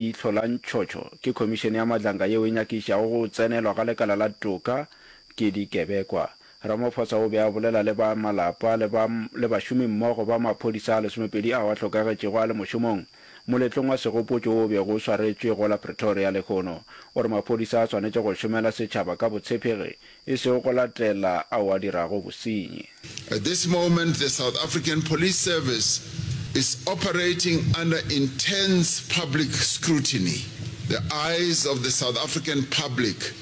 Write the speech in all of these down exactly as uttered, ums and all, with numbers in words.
Leihlo la ntšhotšho ke khomišene ya Madlanga yeo e nyakišišago go tsenelwa ga lekala la toka ke dikebekwa. Ramaphosa o be a bolela le ba malapa le ba le bašomimmogo ba maphodisa a lesomepedi ao a hlokagetšego a le mošomong moletlong wa segopotšo wo o bego o swaretšwe go la Pretoria lehono. O re maphodisa a swanetše go šomela setšhaba ka botshepegi e sego go latela ao a dirago bosenyi. At this moment the South African Police Service is operating under intense public scrutiny. The eyes of the South African public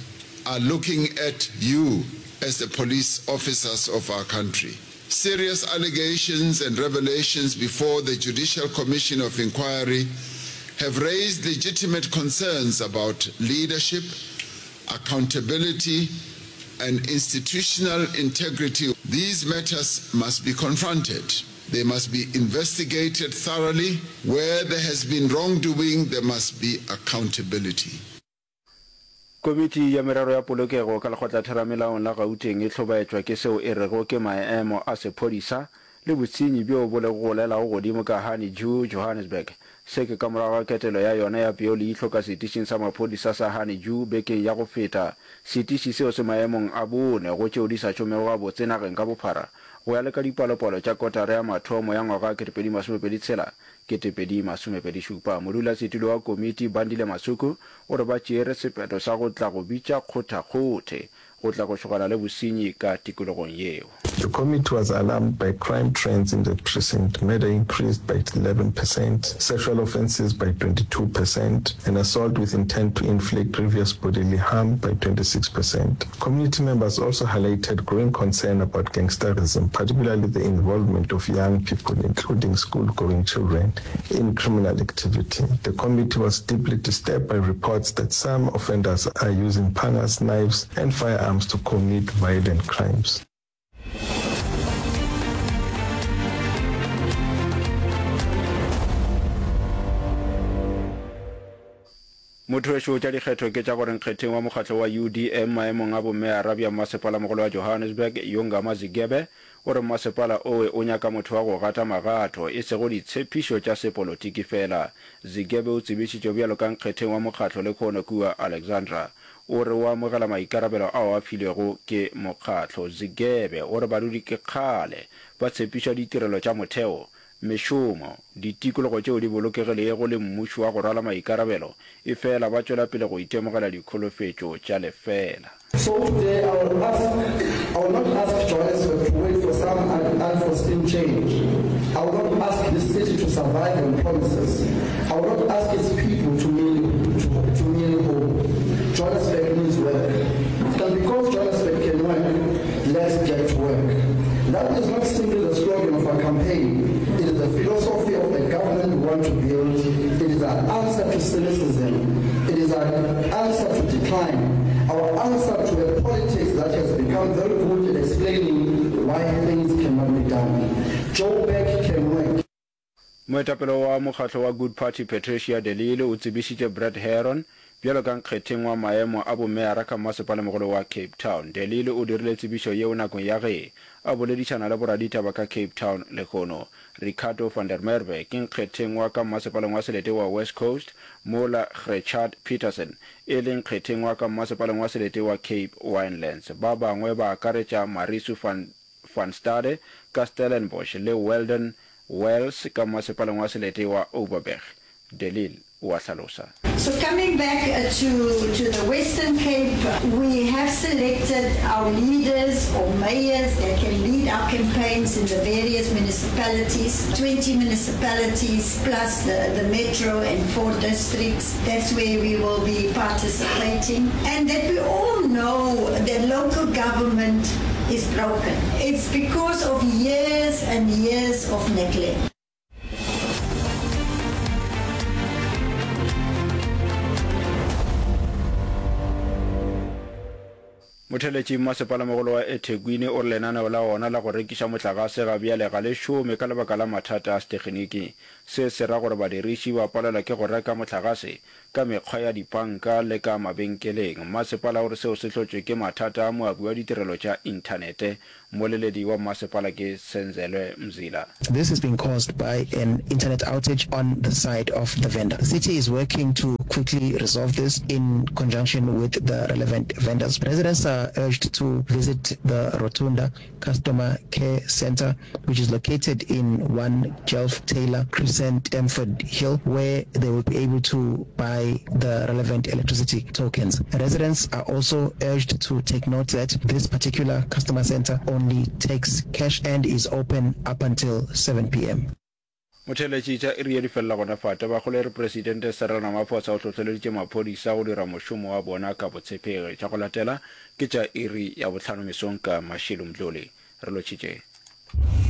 are looking at you as the police officers of our country. Serious allegations and revelations before the Judicial Commission of Inquiry have raised legitimate concerns about leadership, accountability, and institutional integrity. These matters must be confronted. They must be investigated thoroughly. Where there has been wrongdoing, there must be accountability. Komiti ya Merero ya Polokego ka Lekgotlatheramelaong la Gauteng e hlobaetšwa ke seo e rego ke maemo a sephodisa le bosenyi bjo bo lego golelago godimo ka Honeydew, Johannesburg. Se ke ka morago ga ketelo ya yona ya peoleihlo ka setišing sa maphodisa sa Honeydew bekeng ya go feta. Setiši seo se maemong a bone go tšeo di sa šomego gabotse nageng ka bophara go ya le ka dipalopalo tša kotara ya mathomo ya ngwaga wa ketepedi masomepedi tshela, ketepedi masomepedi šupa. Modulasetulo wa komiti Bandile Masuku o re ba tšeere sephetho sa go tla go bitša kgothakgothe go tla go šogana le bosenyi ka tikologong yeo. The committee was alarmed by crime trends in the precinct, murder increased by eleven percent, sexual offences by twenty-two percent, and assault with intent to inflict grievous bodily harm by twenty-six percent. Community members also highlighted growing concern about gangsterism, particularly the involvement of young people, including school-going children, in criminal activity. The committee was deeply disturbed by reports that some offenders are using pangas, knives, and firearms to commit violent crimes. Mothowešu tša dikgetho ke tša gore nkgetheng wa mokgatlo wa U D M maemong a bomeyara bja mmasepalamogolo wa Johannesburg, Yongama Zigebe, o re mmasepala owe o nyaka motho wa go gata magato, e sego ditshepišo tša sepolotiki fela. Zigebe o tsebišitšwe bjalo ka nkgetheng wa mokgatlo lehono kua Alexandra. O re o amogela maikarabelo ao a filwego ke mokgatlo. Zigebe o re badudi ke kgale ba tshepišwa ditirelo tša motheo, mešomo, ditikologo tšeo di bolokegilego le mmušo wa go rwala maikarabelo, efela ba tšwela pele go itemogela dikholofetšo tša lefeela. So today I will ask, I will not ask Johannesburg to wait for some unforeseen change. I will not ask this city to survive on promises. I will not ask its people to merely, to, to merely hope. Johannesburg needs work. And because Johannesburg can work, let's get to work. That is not simply the slogan of our campaign. It is the philosophy of the government we want to build. It is our answer to cynicism. It is our answer to decline. Our answer to a politics that has become very good at explaining why things cannot be done. Joburg can work. Moetapele wa mokgatlo wa Good Party Patricia de Lille o tsebišitše Brett Herron bjalo ka nkgetheng wa maemo a bomeyara ka mmasepalemogolo wa Cape Town. De Lille o dirile tsebišo yeo nakong ya ge a boledišana le boraditaba ka Cape Town lehono. Ricardo van der Merwe ke nkgetheng wa ka mmasepaleng wa selete wa West Coast mola Grechard Petersen e le nkgetheng wa ka mmasepaleng wa selete wa Cape Winelands. Ba bangwe ba akaretša Marisu van van Stade ka Stellenbosch le Weldon Wells ka mmasepaleng wa selete wa Overberg. De Lille o a hlalosa. So coming back to to the Western Cape, we have selected our leaders or mayors that can lead our campaigns in the various municipalities, twenty municipalities plus the, the metro and four districts. That's where we will be participating. And that we all know that local government is broken. It's because of years and years of neglect. Motheletši Mmasepalamogolo wa eThekwini o re lenaneo la ona la go rekiša mohlagase ga bjale ga le šome ka lebaka la mathata a seteginiki. Se se ra gore badiriši ba palelwa ke go reka mohlagase ka mekgwa ya dipanka le ka mabenkeleng. Mmasepala o re seo se hlotšwe ke mathata a moabi wa ditirelo tša inthanete. Mmoleledi wa mmasepala ke Senzelwe Mzila. This has been caused by an internet outage on the side of the vendor. The city is working to quickly resolve this in conjunction with the relevant vendors. Residents are urged to visit the Rotunda Customer Care Centre, which is located in one Jelf Taylor Crescent, Stamford Hill, where they will be able to buy the relevant electricity tokens. Residents are also urged to take note that this particular customer center only takes cash and is open up until seven P M. Motheeletši tša iri ye di felela gona fa. Tabakgolo e re Presidente Cyril Ramaphosa o hlohleleditše maphodisa go dira mošomo wa bona ka botshepegi. Tša go latela ke tša iri ya bohlano mesong ka Mashilo Mdluli. Re lotšhitše.